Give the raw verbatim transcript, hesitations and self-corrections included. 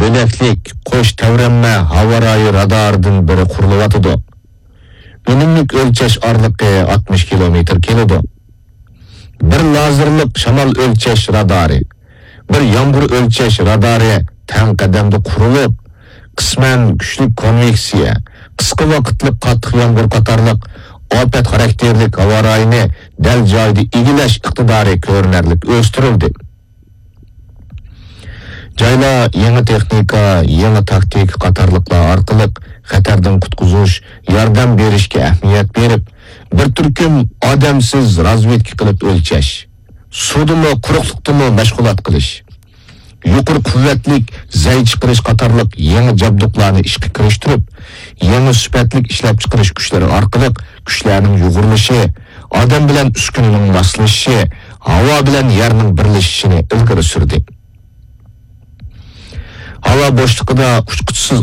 بۆلەكلىك قوش تەۋرەنمە ھاۋا رايى رادارىدىن بىرى قۇرۇلۇۋاتىدۇ. ئۈنۈملۈك ئۆلچەش ئارىلىقى ئاتمىش كىلومېتىر كېلىدۇ. بىر لازېرلىق شامال ئۆلچەش رادارى، بىر يامغۇر ئۆلچەش رادارى تەڭ قەدەمدە قۇرۇلۇپ، قىسمەن كۈچلۈك كونۋېكسىيە، قىسقا ۋاقىتلىق قاتتىق يامغۇر قاتارلىق ئاپەت خاراكتېرلىك ھاۋا رايىنى دەل جايىدا ئىگىلەش ئىقتىدارى كۆرۈنەرلىك ئۆستۈرۈلدى. جايلار يېڭى تېخنىكا، يېڭى تاكتىكا قاتارلىقلار ئارقىلىق خەتەردىن قۇتقۇزۇش، ياردەم بېرىشكە ئەھمىيەت بېرىپ، بىر تۈركۈم ئادەمسىز رازۋېدكا قىلىپ ئۆلچەش، سۇدىمۇ، قۇرۇقلۇقتىمۇ مەشغۇلات قىلىش، يۇقىرى قۇۋۋەتلىك زەي چىقىرىش قاتارلىق يېڭى جابدۇقلارنى ئىشقا كىرىشتۈرۈپ، يېڭى سۈپەتلىك ئىشلەپچىقىرىش كۈچلىرى ئارقىلىق كۈچلەرنىڭ يۇغۇرۇلۇشى، ئادەم بىلەن ئۈسكۈنىنىڭ ماسلىشىشى، ھاۋا بىلەن يەرنىڭ بىرلىشىشىنى ئىلگىرى سۈردى. ھاۋا بوشلۇقىدا ئۇچقۇچىسىز